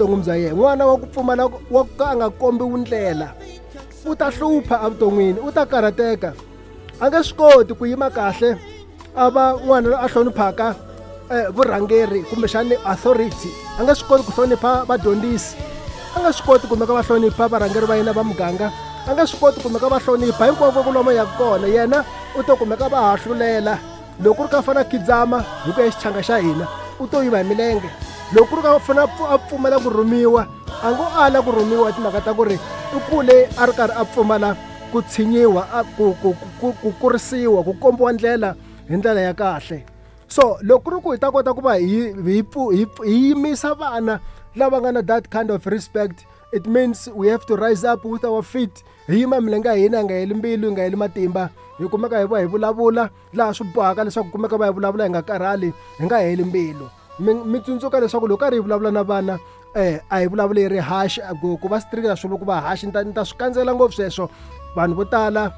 evuton'wini bya yena. N'wana wa ku pfumala wa ku ka a nga kombiwi ndlela u ta hlupha evuton'wini, u ta karhateka, a nge swi koti ku yima kahle a va n'wana loyi a hloniphaka vurhangeri kumbexani authority, a nge swi koti ku hlonipha vadyondzisi, a nge swi koti kumeka va hlonipha varhangeri va yena va muganga, a nge swi koti kumeka va hlonipha hinkwako ku lomu yaka kona. Yena u to kumeka va hahlulela. Loko ku ri ka fana khidzama hi ku ya xichanga xa hina u to yiva hi milenge. Loko ku ri ka fana a pfumela ku rhumiwa, a ngo ala ku rhumiwa hi timhaka ta ku ri u kule a ri karhi a pfumala ku tshinyiwa, ku kurisiwa, ku kombiwa ndlela hi ndlela ya kahle. So loko ku ri ku hi ta kota ku va hi yimisa vana lava nga na that kind of respect, it means we have to rise up with our feet, hi yima milenge ya hina, hi nga heli mbilu, hi nga heli matimba, hi kumeka hi va hi vulavula laha swi bohaka leswaku kumeka va hi vulavula hi nga karhali, hi nga heli mbilu. Mi tsundzuka leswaku loko karhi hi vulavula na vana a hi vulavuli hi ri harsh, ku va strict a swi vuli ku va harsh. Ni ta swi kandzela ngopfu sweswo. Vanhu vo tala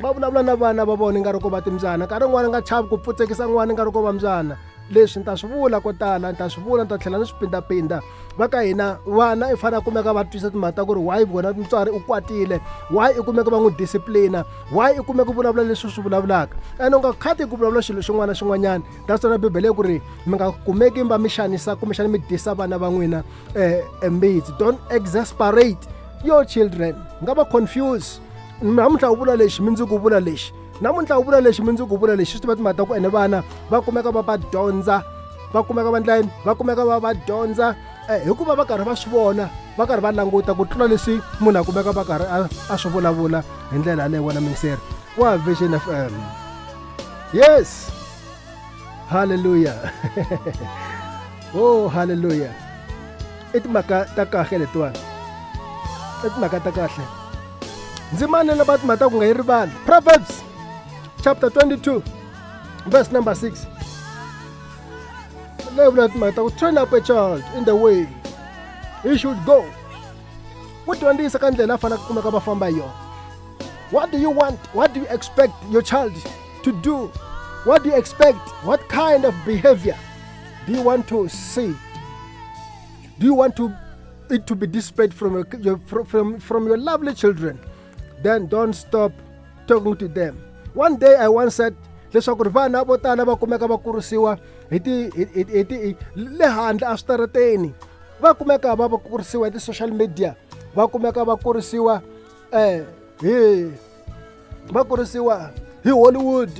va vulavula na vana va vona nga ri ko va timbyana, nkarhi wun'wani nga chavi ku pfutsekisa n'wana nga ri ko va mbyana. Leswi ni ta swi vula ko tala, ni ta swi vula, ni ta tlhela ni swi pindapinda. Va ka hina vana i fanele a kumeka va twisisa timhaka ta ku ri why vona mutswari u kwatile, why i kumeka va n'wi disciplina, why i kumeka vulavula leswi swi vulavulaka. Ene u nga khati ku vulavula xilo xin'wana na xin'wanyana. That's why Bibele ku ri mi nga kumeki va mi xanisa kumbexana mi dyisa vana va n'wina mbitsi. Don't exasperate your children, nga va confuse. Namuntlha u vula lexi, mundzuku u vula lexi, namuntlha u vula lexi, mundzuku u vula lexi. Swi tiva timhaka ta ku ene vana va kumeka va va dyondza, va kumeka va endla yini, va kumeka va va dyondza hikuva va karhi va swi vona, va karhi va languta ku tlula leswi munhu a kumeka va karhi a swi vulavula hi ndlela yaleyo. Wena muyingiseri wa Vision FM, yes, hallelujah, oh hallelujah. I timhaka ta kahle letiwani, i timhaka ta kahle. Ndzimana lava timhaka ta ku nga yi rivali, Proverbs chapter 22 verse number 6, leyi vula timhaka ta ku train up a child in the way he should go, ku dyondzisa ka ndlela a faneleke ku kumeka va famba hi yona. What do you want? What do you expect your child to do? What do you expect? What kind of behavior do you want to see? Do you want to it to be displayed from your lovely children? Then don't stop talking to them. One day I once said leswaku ri vana vo tala va kumeka va kurisiwa hi ti hi ti le handle eswitarateni, va kumeka va va kurisiwa hi ti-social media, va kumeka va kurisiwa hi va kurisiwa hi Hollywood,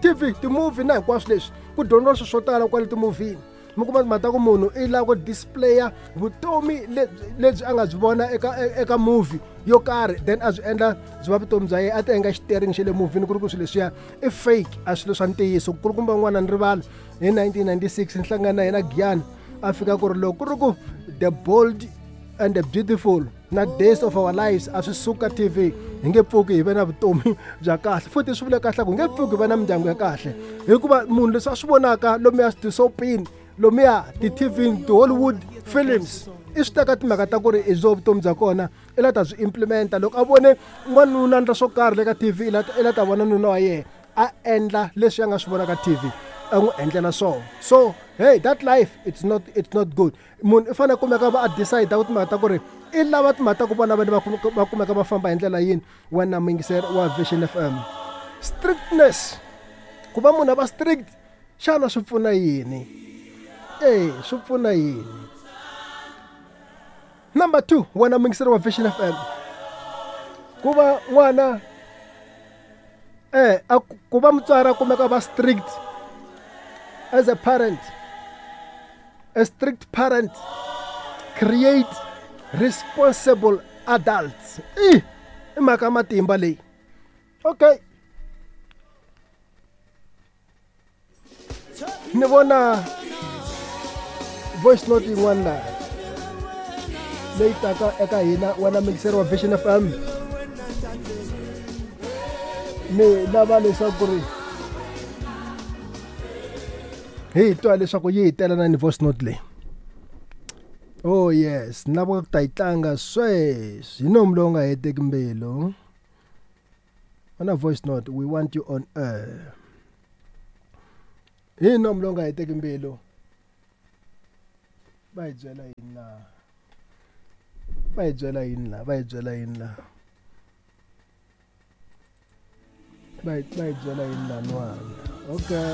TV, ti-movie na hinkwaswo leswi ku dyondziwa swilo swo tala kwale timovhini. Mi kuma timhaka ta ku munhu i lava ku displaya vutomi lebyi a nga byi vona eka movie yo karhi, then a byi endla byi va vutomi bya yena, a ti endla xitering xa le movhini ku ri ku swilo leswiya i fake, a swilo swa ntiyiso. Kulukumba n'wana ni rivala hi 1996 ni hlangana na yena Giyani, a fika ku ri loko ku ri ku The Bold and the Beautiful na Days of Our Lives a swi suka TV, hi nge pfuki hi ve na vutomi bya kahle. Futhi swi vule kahle ku hi nge pfuki hi va na mindyangu ya kahle, hikuva munhu leswi a swi vonaka lomuya tisopini, lomuya ti-TV, ti-Hollywood films, i swi teka timhaka ta ku ri i byo vutomi bya kona, i la ta byi implementa. Loko a vone n'wanuna endla swo karhi le ka TV, i la ta vona nuna wa yena a endla leswi a nga swi vona ka TV, a n'wi endlela swona. So hey, that life it's not good. Munhu i fanele a kumeka va a decide ku timhaka ta ku ri i lava timhaka ta ku vona vana va kumeka va famba hi ndlela yini. Wena muyingiseri wa Vision FM, strictness, ku va munhu a va strict, xana swi pfuna yini? Swi pfuna yini? Number 2, wena muyingiseri wa Vision FM, ku va n'wana ku va mutswari a kumeka va strict as a parent, a strict parent create responsible adults. I mhaka matimba leyi. Okay, ni vona voice note yin'wana laha leyi taka eka hina. Wena muyingiseri wa Vision FM, ni lava leswaku ri hi twa leswaku yi hi tela na ni voice note leyi. Oh yes, ni lava ku ta yi tlanga sweswi hi nomu lowu nga heteki mbilu. Ona voice note, we want you on air. Hi nomu lowu nga heteki mbilu. Va hi byela yini laha? Va hi byela yini laha? Va hi byela yini laha? Va hi byela yini laniwani? Okay.